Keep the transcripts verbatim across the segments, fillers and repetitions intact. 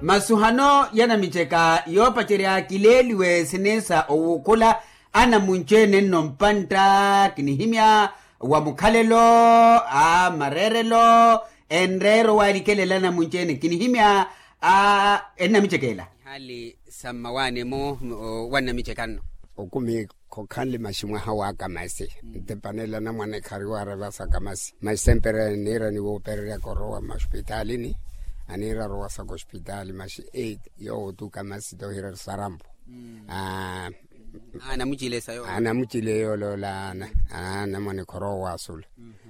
Masuhano ya namiceka yoopacerya kileeliwe siniisa owuukhula anamunci-ene nno mpantta kinihimya wa mukhalelo, a mareerelo, enreero walikelela anamunci-ene kinihimya a ennamiceka ela. Nihaali sa mmawaani-mu wa nnamiceka nno. Okumi khokhanle maxi mwaha wa kamasi ntepanela namwane khariwaarevasa kamasi maxi sempre niira niwoopereryaka orowa maxupitaalini. Aniira arowasaka oxupitaali maxi eight yoowo tu kamasi tohira sarampo. Anamucile sa yoowo anamucile yooloola. Namwane khorowa waasula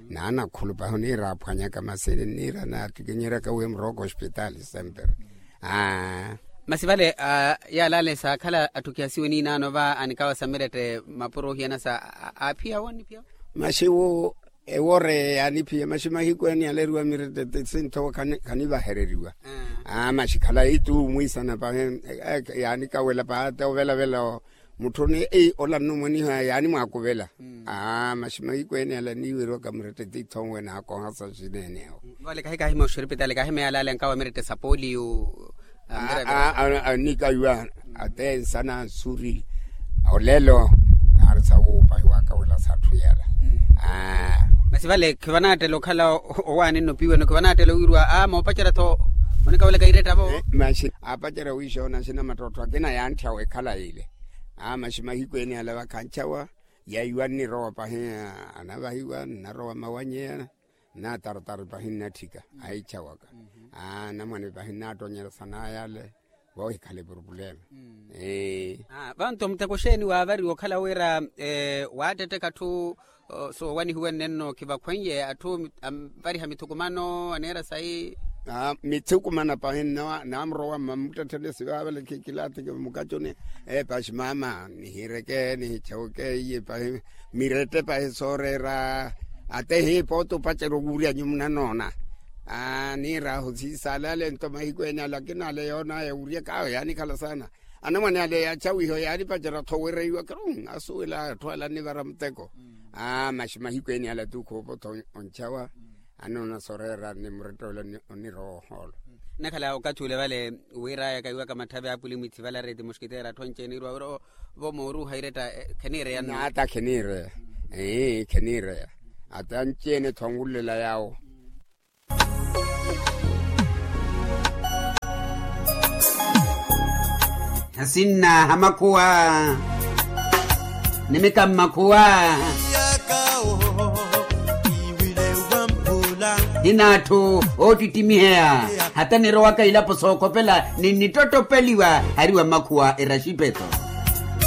naana khulupahi oniira aphwanyaka masini niira naattikinyeryaka wi emurowaka oxupitaali sempre. Masi vale yaalale saakhala attukihasiwe niinaano va anikawasa mirette mapuro ohiyana sa aaphiya wo aniphiya wo. Maxi wo ewore yaaniphiya maxi mahiku ene yaleriwa mirette ti sinthowa khanivahereriwa. Maxi khala itu mwiisana pahi yaanikawela pahi ate ovelavela. Mutthuni ei ola nnumwaniha yaanimwaakuvela. Maxi mahiku ene yala niiweriwaka mirette ti ithonwe naakohasa xineenewo. Vale kahikahima oxiripitali kahima yalale ankawa mirette sa poliyu. Anikaiwa ate nsana nsuri olelo naari sawuupahi waakawela satthu yala. Masi vale khivanaattela okhala owaani nnopiweno khivanaattela owiriwa a moopacerya-tho onikawelaka irettavo. Maxi aapacerya wiixoona axina mattottho akina yaantthyawa ekhala ile. Maxi mahiku ene yala vakhanchawa yaiwa nnirowa pahi anavahiwa nnarowa mawanyeya. Nnataratari pahi nnatthika ahichawaka. Namwane pahi nnattonnyerya sanayale voohikhale purupulema. Vanto muteko xeeni waavariwa okhala wira waattetteka atthu soowanihiwene nno khivakhweiye atthu anvariha mithukumano aneera sayi. Mithukumano pahi nnamurowa mmamuttetthene sivaavale khikilaathike mukacuni. Epaxi maama nihireke nihichaweke iye pahi mirette pahi sooreera. Ate hiipooti opacerya owurya nyumu nanoona. Niiraahu siisalale nto mahiku ene ale akina ale yoonaya owuryaka awe yaanikhala saana. Anamwane ale yaachawiha yaanipacerya-tho wereiwa kiru asuwela atthu ala annivara muteko. Maxi mahiku ene ale atu khoopotha onchawa anoona soreera ni murettoole onirowa ohoolo. Nnakhala okathi ule vale wiirayaka iwaka matthavi aapuli mwithi vale areti muxkiteera atthu anci-ene irowa wira vo mooruuha iretta kheniireya nno. Ata kheniireya. Kheniireya ata anci-ene-tho onwulela yaawo. Asinna ha makhuwa ni mika mmakhuwa. Hina atthu oottittimiheya hata nirowaka ilapo sookhopela ni nittottopeliwa hariwa mmakhuwa eraxipeto.